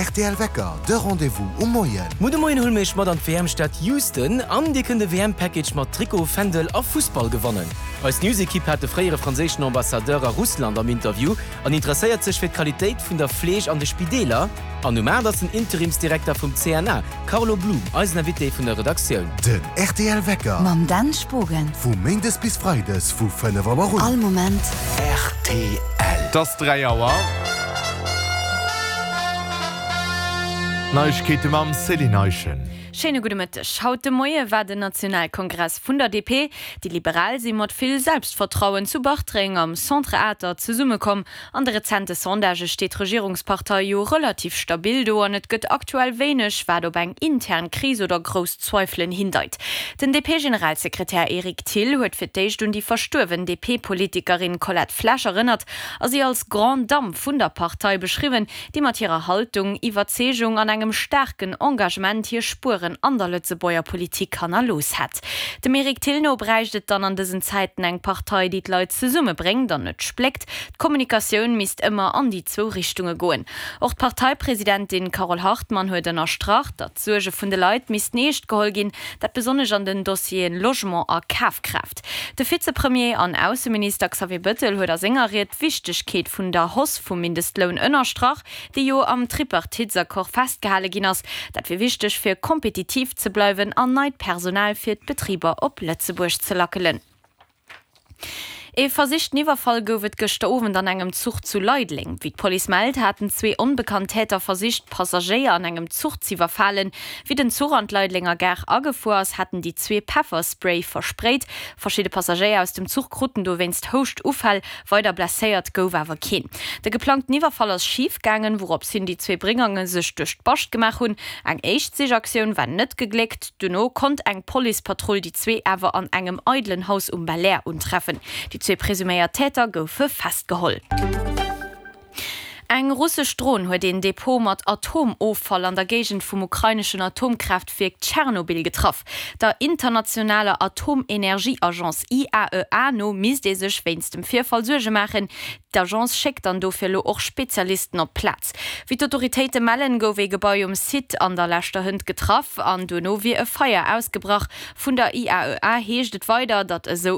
rtl Wecker, de Rendez-vous um Moien. Muer de Moien huele mir iech mat an d'WM-Stad Houston an dir kënnt e WM-Package mat Trikot, Fändel a Fussball gewannen. Eis News-Ekipp hat de fréiere franséischen Ambassadeur a Russland am Interview an interesséiert sech fir d'Qualitéit vun der Fleeg an de Spideeler. An um 8 ass den Interimsdirekter vum CNA, Carlo Blum, eisen Invité vun der Redaktioun. Den rtl Wecker. Mam Dan Spogen. Vu Méindes bis Freides vu 5 Auer un. All Moment. Rtl. Et ass 3 Auer. D'Neiegkeete mam Céline Eischen. Schéine gudde Mëtteg. Haut de Moie war den Nationalkongress vun der DP. Déi Liberal si mat vill Selbstvertrauen zu Bartreng am Centre Atert zesummekomm. An de rezente Sondagë steet d'Regierungspartei jo relativ stabil do an et gëtt aktuell wéineg, wat op eng intern Kris oder grouss Zweifelen hindeit. Den DP-Generalsekretär Eric Thill huet fir d'éischt un déi verstuerwen DP-Politikerin Colette Flesch erënnert a si als Grande Dame vun der Partei beschriwwen, déi mat hirer Haltung, Iwwerzeegung an engem staarken Engagement hir Spueren an der Lëtzebuerger Politik hannerlooss hätt. Dem Eric Thill no bräicht et dann an dësen Zäiten eng Partei, déi d'Leit zesummebréngt an net spléckt. D'Kommunikatioun misst ëmmer an déi zwou Richtunge goen. Och d'Parteipresidentin Carole Hartmann huet ënnerstrach, datt d'Suerge vun de Leit missten eescht geholl ginn, dat besonnesch an den Dossieren Logement a Kafkraaft. De Vizepremier an Ausseminister Xavier Bëttel huet a senger Ried d'Wichtegkeet vun der Hausse vum Mindestloun ënnerstrach, déi jo am Tripartitesaccord festgehale ginn ass. Dat wier wichteg fir kompetitiv ze bleiwen an neit Personal fir d'Betriber op Lëtzebuerg ze lackelen. Ee versichten Iwwerfall gouf et gëschter Owend an engem Zuch zu Leideleng. Wéi d'Police mellt, haten zwee onbekannt Täter versicht, Passagéier an engem Zuch z'iwwerfalen. Wéi den Zuch an d'Leidelenger Gare agefuer ass, hätten déi zwee Pefferspray versprayt. Verschidde Passagéier aus dem Zuch kruten dowéinst Houschtuffäll. Weider blesséiert gouf awer keen. De geplangten Iwwerfall ass schif gaangen, wourops hin déi zwee Brigange sech duerch d'Bascht gemaach hunn. Eng éischt Sichaktioun war net gegléckt. Dono konnt eng Policepatrull déi zwee awer an engem eidelen Haus um Belair untreffen. Déi zwee presuméiert Täter goufe festgeholl. Eng russesch Dron huet een Depot mat Atomoffall an der Géigend vum ukraineschen Atomkraaftwierk Tschernobyl getraff. Der internationaler Atomenergieagence IAEA no misst ee sech wéinst dem Virfall Suerge maachen. D'Agence schéckt dann dofir elo och Spezialisten op d'Plaz. Wéi d'Autoritéite mellen, gouf ee Gebai um Site an der leschter Hënt getraff an duerno wier e Feier ausgebrach. Vun der IAEA heescht et weider, datt esou.